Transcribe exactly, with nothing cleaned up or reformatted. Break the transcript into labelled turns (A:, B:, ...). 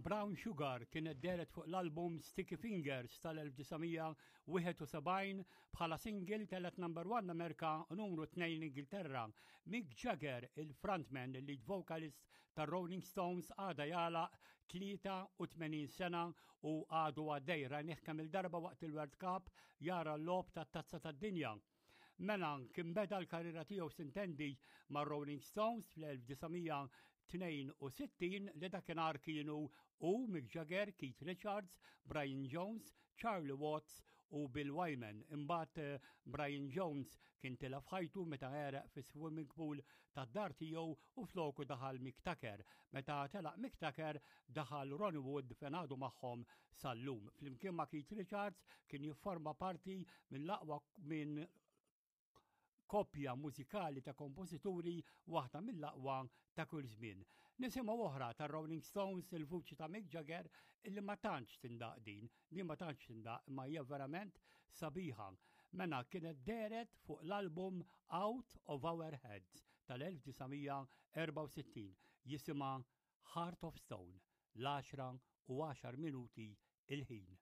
A: Brown Sugar kienet dehret fuq l-album Sticky Fingers tal-elf disa' mija wieħed u sebgħin bħala single, telgħet number one Amerika u numru tnejn Ingilterra. Mick Jagger, il-frontman, il-lead vocalist tar-Rolling Stones, għada jagħlaq tlieta u tmenin sena u għadu għaddej. Rajnieh kemm il-darba waqt il-World Cup jara l-logħob tat-Tazza tad-Dinja. Mela kien beda l-karriera tiegħu, s'intendi, ma' Rolling Stones fl-elf disa' mija tnejn u sittin, li dakinhar kienu u Mick Jagger, Keith Richards, Brian Jones, Charlie Watts u Bill Wyman. Imbagħad eh, Brian Jones kien tilef ħajtu meta għereq fi swimming pool tad-dar tiegħu u floku daħal Mick Tucker. Meta telaq Mick Tucker, daħal Ronnie Wood, fejn għadu magħhom sal-lum. Flimkien ma' Keith Richards kien jifforma parti mill-aqwa minn koppja mużikali ta' kompożituri, waħda mill-aqwa ta' kull żmien. Nisimgħu oħra ta' Rolling Stones, il-vuċi ta' Mick Jagger, illi ma tantx tindaq din, din ma tantx tindaq, imma hija verament sabiħa. Mela kienet dehret fuq l-album Out of Our Heads tal-elf disa' mija erbgħa u sittin, jisimha Heart of Stone, l-għaxra u għaxar minuti il-ħin.